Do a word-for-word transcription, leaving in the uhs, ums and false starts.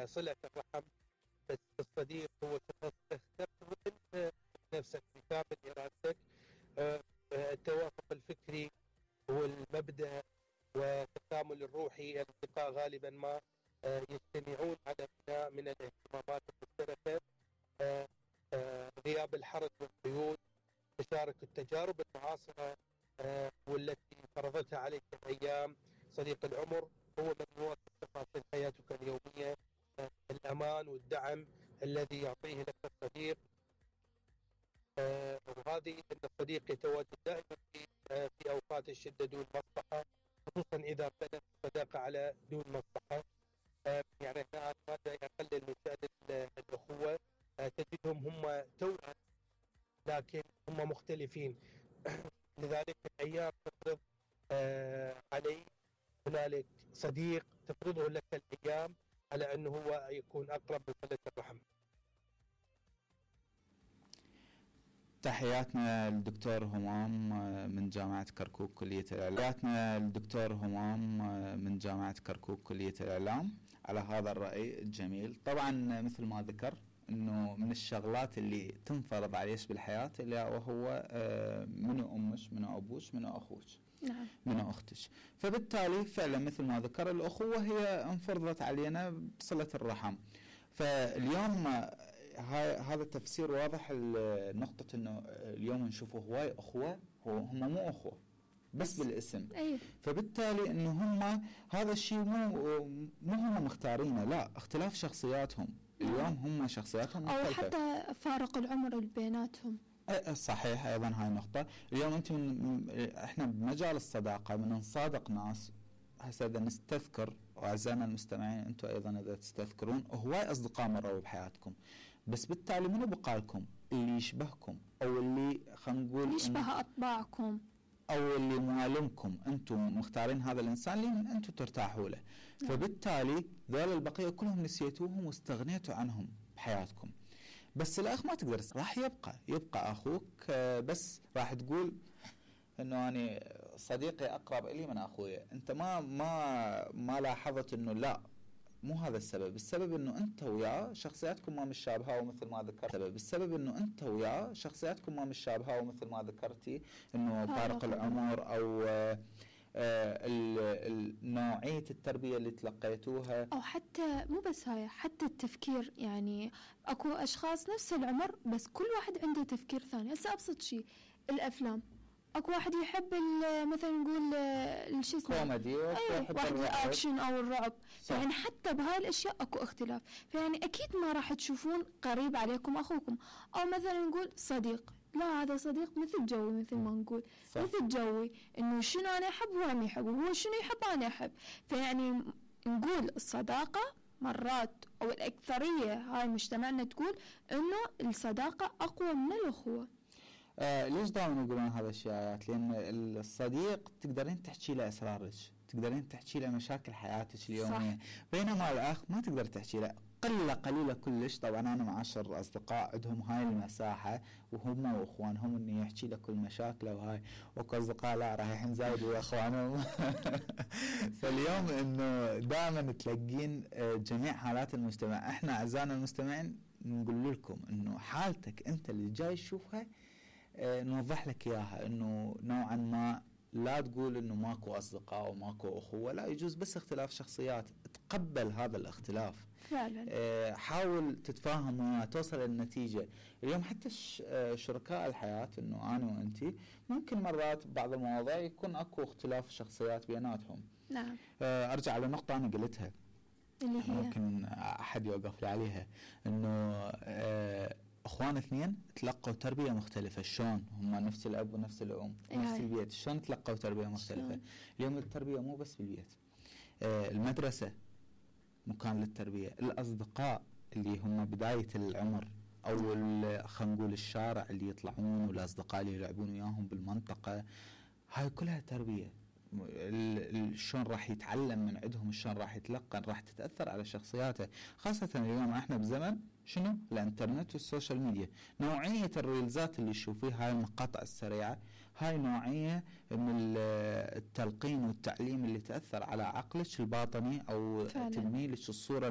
صلة الرحم. بس الصديق هو شخص تختاره انت نفسك بكامل ارادتك، التوافق الفكري والمبدأ والتكامل الروحي. الاصدقاء غالبا ما يجتمعون على بناء من الاهتمامات المشتركة، غياب الحرج والقيود، تشارك التجارب المعاصرة والتي فرضتها عليك الأيام. صديق العمر هو من يواكب تفاصيل حياتك اليومية، الأمان والدعم الذي يعطيه لك الصديق. وهذه أن الصديق يتواجد دائما في في أوقات الشدة دون مصلحة، خصوصا إذا بنت الصداقة على دون مصلحة. يعني هذا يقلل من شأن الأخوة. تجدهم هم توأم لكن هم مختلفين. لذلك الأيام تفرض علي هنالك صديق تفرضه لك الأيام على أنه هو يكون أقرب من صلة الرحم. تحياتنا للدكتور همام من جامعة كركوك كلية الإعلام. تحياتنا للدكتور همام من جامعة كركوك كلية الإعلام على هذا الرأي الجميل. طبعا مثل ما ذكر انه من الشغلات اللي تنفرض عليش بالحياة اللي وهو منو امش منو ابوش منو اخوش نعم. منو اختش. فبالتالي فعلا مثل ما ذكر الاخوة هي انفرضت علينا بصلة الرحم. فاليوم هاي هذا التفسير واضح النقطة انه اليوم نشوفه هواي اخوة هو هم مو اخوة بس بالاسم. أيه. فبالتالي انه هم هذا الشيء مو مو هم مختارينه، لا اختلاف شخصياتهم. اليوم هم شخصياتهم مختلفة أو حتى فارق العمر اللي بيناتهم. صحيح أيضا هاي النقطة. اليوم أنت من إحنا بمجال الصداقة من نصادق ناس هسه إذا نستذكر، وأعزائنا المستمعين أنتم أيضا إذا تستذكرون هواي أصدقاء مروا بحياتكم، بس بالتالي منو بقالكم اللي يشبهكم أو اللي خلينا نقول يشبه أطباعكم أو اللي موالمكم، أنتم مختارين هذا الإنسان اللي أنتم ترتاحوا له. نعم. فبالتالي ذول البقية كلهم نسيتوهم واستغنيتوا عنهم بحياتكم. بس الأخ ما تقدر، راح يبقى يبقى أخوك، بس راح تقول إنه أنا صديقي أقرب إلي من أخويا. أنت ما ما ما لاحظت إنه لا مو هذا السبب. السبب إنه أنت وياه شخصياتكم ما مشابهة، ومثل ما ذكرت السبب السبب إنه أنت وياه شخصياتكم ما مشابهة، ومثل ما ذكرتي إنه فارق العمر أو آه نوعية التربية اللي تلقيتوها، أو حتى مو بس هاي، حتى التفكير. يعني أكو أشخاص نفس العمر بس كل واحد عنده تفكير ثاني. هسه أبسط شيء الأفلام، أكو واحد يحب مثلا نقول الشيء اسمه كوميدي، أيه واحد الأكشن أو الرعب. صح. يعني حتى بهاي الأشياء أكو اختلاف. فيعني أكيد ما راح تشوفون قريب عليكم أخوكم، أو مثلا نقول صديق، لا هذا صديق مثل جوي، مثل ما نقول صح. مثل جوي، إنه شنو أنا أحب هو ما يحب، وهو شنو يحب أنا أحب. فيعني نقول الصداقة مرات أو الأكثرية هاي مجتمعنا تقول إنه الصداقة أقوى من الأخوة. آه ليش دائما يقولون هذا الشيء؟ لأن الصديق تقدرين تحكي له أسرارك، تقدرين تحكي له مشاكل حياتك اليومية، بينما الأخ ما تقدر تحكي له، قلة قليلة كلش. طبعا أنا معاشر أصدقاء عندهم هاي المساحة وهم وإخوانهم إنه يحكي له كل مشاكله وهاي، وكأصدقاء لا رايحين زايد وإخوانهم. فاليوم إنه دائما تلاقين جميع حالات المجتمع. إحنا أعزائنا المستمعين نقول لكم إنه حالتك أنت اللي جاي تشوفها اه نوضح لك إياها، إنه نوعا ما لا تقول إنه ماكو أصدقاء وماكو أخوة، لا يجوز بس اختلاف شخصيات. تقبل هذا الاختلاف فعلا. اه حاول تتفاهم وياه، توصل للنتيجة. اليوم حتى شركاء الحياة إنه أنا وأنتي ممكن مرات بعض المواضيع يكون أكو اختلاف شخصيات بيناتهم. نعم. اه أرجع لنقطة أنا قلتها اللي هي ممكن أحد يوقف لي عليها، إنه اه اخوان اثنين تلقوا تربيه مختلفه. شلون هم نفس الاب ونفس الام ونفس البيت، شلون تلقوا تربيه مختلفه؟ شلون؟ اليوم التربيه مو بس بالبيت، آه المدرسه مكان للتربيه، الاصدقاء اللي هم بدايه العمر، او خلينا نقول الشارع اللي يطلعون، والاصدقاء اللي يلعبون وياهم بالمنطقه، هاي كلها تربيه. شلون راح يتعلم من عندهم، شلون راح يتلقن، راح تتأثر على شخصياته. خاصة اليوم احنا بزمن شنو؟ الانترنت والسوشيال ميديا. نوعية الريلزات اللي تشوفيها، هاي المقاطع السريعة، هاي نوعية من التلقين والتعليم اللي تأثر على عقلك الباطني، او تبني لك الصورة